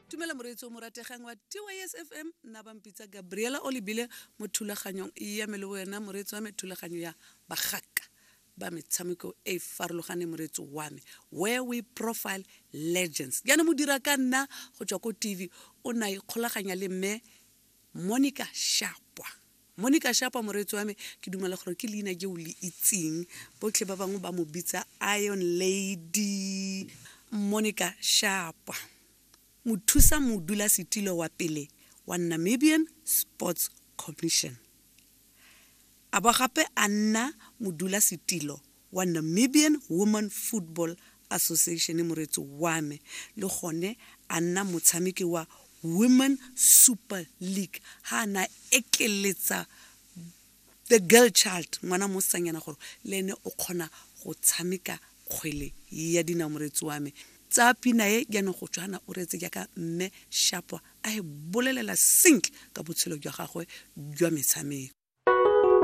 Tumela moreetsi o morategang wa TYS FM nna ba mpitsa Gabriela o lebile mo thulaganyong ya me le wena moreetsi wa me thulaganyo ya bagaka ba metshameko e e farologaneng moreetsi wa me where we profile legends jaanong modira ka nna go tswa ko tv o ne a ikgolaganya le mme Monica Shapwa Monica Shapwa moreetsi wa me ke dumela gore ke leina je o le itseng botlhe ba bangwe ba mo bitsa Iron Lady Monica Shapwa mothusa modulasetilo wa pele wa Namibian Sports Commission a ba gape a nna modulasetilo wa Namibian Women Football Association moreetsi wa me le gone a nna motshameki wa Women Super League ha a na ekeletsa the girl child ngwana mosetsanyana gore le ene o kgona go tshameka kgwele ya dinao moreetsi wa me tsaya pina e jaanong go tshwana o reetse jaaka mme Shapwa a e bolelela sentle ka botshelo jwa gagwe jwa metshameko.